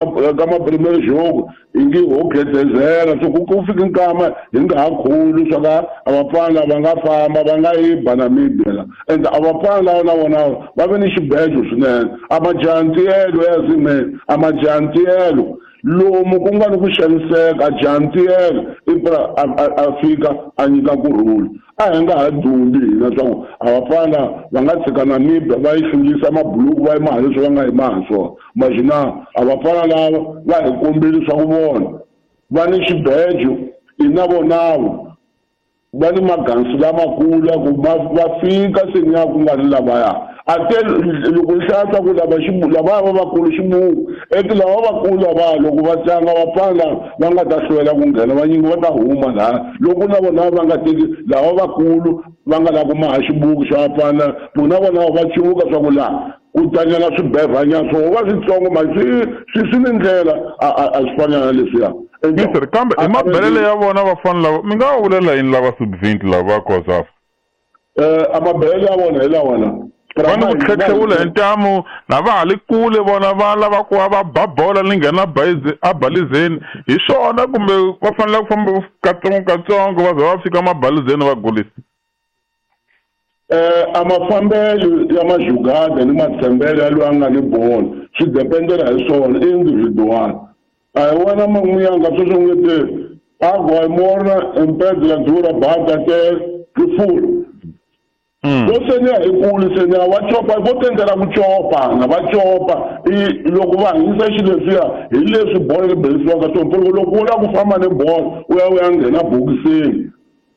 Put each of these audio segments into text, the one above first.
Ka ma-premier jogo hi nge ho khedezela, so ku fika nkama hi nga ha khuli swa ka a vafana va nga famba va nga yi ba Namibia la. And a vafana lava na vona va ve ni xibejo swinene, a majantiyelo ya zime, a majantiyelo lomu ku nga ni ku xaniseka, a jantiyelo i pra a fika a nyika kurhula. A hi nga ha dumbi hina swa ku a vafana va nga tshika Namibia va yi hlulisa mabuluku va yi maha leswi va nga yi maha swona. Majina a vafana lava va hi kombile swa ku vona va ni xibejo, i na vonavo va ni magansi lamakulu ya ku va fika seni ya ku nga ri lavaya. A te loko ni hlaya swa ku lava lavaya va vakulu xibuku, eti lava vakulu lava loko va tlanga vafana va nga ta hlwela ku nghena, vanyingi va ta huma laha. Loko na vona va nga teki lava vakulu va nga lava ku maha xibuku xa vafana, na vona va cuvuka swa ku laha ku tlangela swibevhanyana swo va switsongo, ma swi ni ndlela, a swi fani na leswiya. Mister, kambe hi mabelele ya vona vafana lava, mi nga va vulela yini lava sub-20 lava COSAFA? A mabelele ya vona hi lawa la. Va ni ku tlhetlhewula hi ntamu, na va ha li kule vona va lava ku va va ba bola ni nghena a balizeni. Hi swona kumbe va fanele ku famba katsongo katsongo va za va fika mabalizeni va golisa? A mafambelo ya majugada ni matshembelo ya loyi a nga ni bolo swi dependela hi swona individual. A hi wena man'wiyanga sweswo nge te agua e morna em pedra dura bata te rifula. Vo seni ya hi kulu seni ya va copa, vo tendela ku copa na va copa. I loko va hanyisa xilo leswiya hi leswi bolo ri berisiwaka swona. Loko loko u lava ku famba ni bolo u ya u ya nghena bokisini,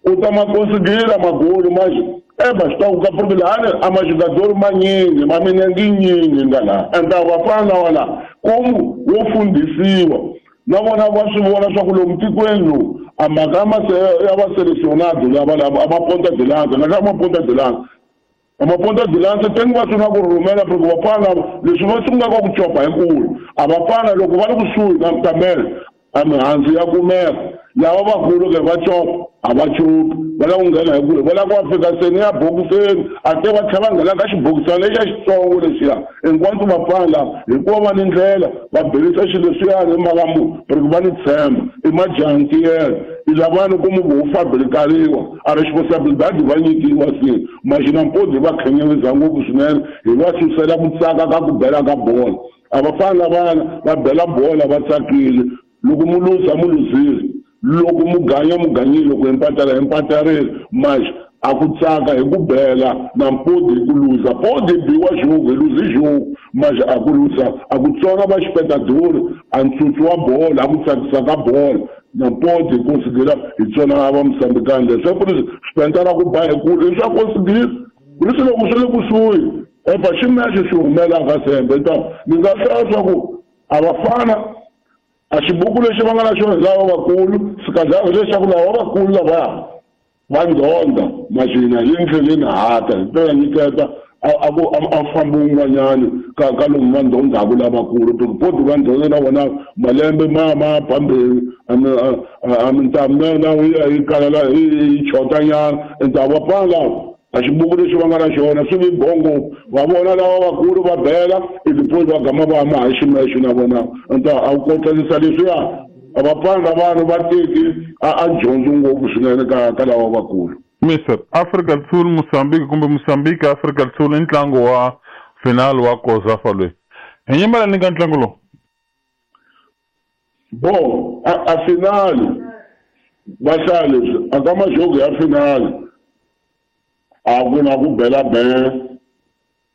u ta ma konsigila magoli manje. Eba swi ta ku ka porque lahani a majugadori manyingi, ma minenge yinyingi nga laha. And a vafana lava la komu wo fundhisiwa na vona va swi vona swa ku lomu tikweni lowu a mhaka ya ya va selecionado lava lava a ma ponta de lança, na ka ma ponta de lança. A ma ponta de lança tengi va sungula ku rhumela porque vafana lava leswi va sungulaka ku copa hi kulu. A vafana loko va ri kusuhi na kamela a mihandzu ya kumeka. Lava vakulu ke va copa, a va copi, va lava ku nghena hi kule, va lava ku va fika seni ya bokiseni, a te va tlhela va nghena ka xibokisana lexiya xitsongo lexiya. Hinkwaswo vafana lava hikuva va ni ndlela va berisa xilo leswiyani hi mhaka mu porque va ni tshemba, i majantiyelo, i lavani ku mu vo fabrikariwa, a responsibilidade va nyikiwa se. Maxina mpodi va khenyeriza ngopfu swinene, hi va susela ku tsaka ka ku bela ka bolo. A vafana lavana va bela bola va tsakile, loko mu luza mu luzile, loko mu ganya mu ganyile, loko hi mpatala hi mpatarile. Manje a ku tsaka hi ku bela na mpodi hi ku luza. Podi hi biwa jogo, hi luzi jogo. Manje a ku luza, a ku tsonga va xipetadori, a ntsutsu wa bolo, a ku tsakisa ka bolo. Na mpodi hi konsidera hi tsona va Mozambique leswi. Ku ri swipentara ku ba hi kulu, leswi a konsidera. Ku ri loko swi le kusuhi, epa ximexo xi humelaka sembe. Ta ni nga hlaya swa ku a vafana a xibuku lexi va nga na xona hi lava vakulu, sikadlala leswaku lava vakulu lavaya va ndhondha maxina hi ndleleni hata hi ta nyiketa a ku a fambi un'wanyani ka lomu va ndhondhaku lavakulu. Porque poti va ndhondha na vona malembe ma phambeni, a mintamu na yona yi ya yi kalala, yi chotanyana. Ende a vafana lava a xibuku lexi va nga na xona swi vi bongo, va vona lava vakulu va bela, ivi poti va gama va hama hi ximexo na vona. Ende a ku kotlanisa leswiya, a vafana lavana va teki a dyondzo ngopfu swinene ka lava vakulu. Mister, Afrika do Sul, Mozambique kumbe Mozambique, Afrika do Sul i ntlangu wa final wa COSAFA loyi. Hi nyimela ni ka ntlangu lowu? Bo, a final va hlaya leswi, a ka majogo ya final a ku na ku bela bela.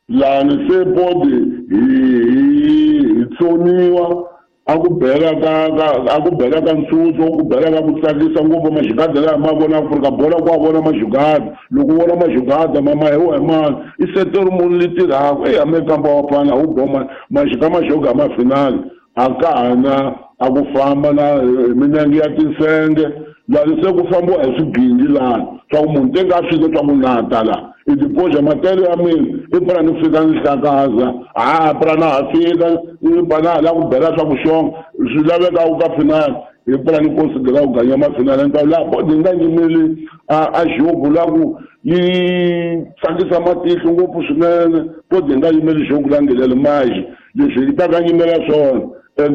Lani se podi hi tsoniwa, a ku bela ka, ka, a ku bela ka ntsutsu, ku bela ka ku tsakisa ngopfu majugada laha ma vona Afrika bola ku a vona majugada. Loko u vona majugada ma ma hi wa hi mani, i setori munhu li tirhaka. Eya, me kamba wa fana, wu boma majika majoga ma final. A ka ha na, a ku famba na hi minenge ya tinsenge. Lani se ku fambiwa hi swigindi lani, swa ku munhu teka a fika swa ku nata la. I dipoza matele ya mina, i pfuna ni fika ni hlakaza. Ha, pfuna na ha fika, i pfuna na ha lava ku bela swa ku xonga. Swi laveka u ka final, i pfuna ni considera ku ganya ma final. Ni ta laha bodi yi nga nyimeli a jogo la ku yi tsakisa matihlo ngopfu swinene. Bodi yi nga yimeli jogo la ngheleli maji. Leswi yi ta ka nyimela swona, And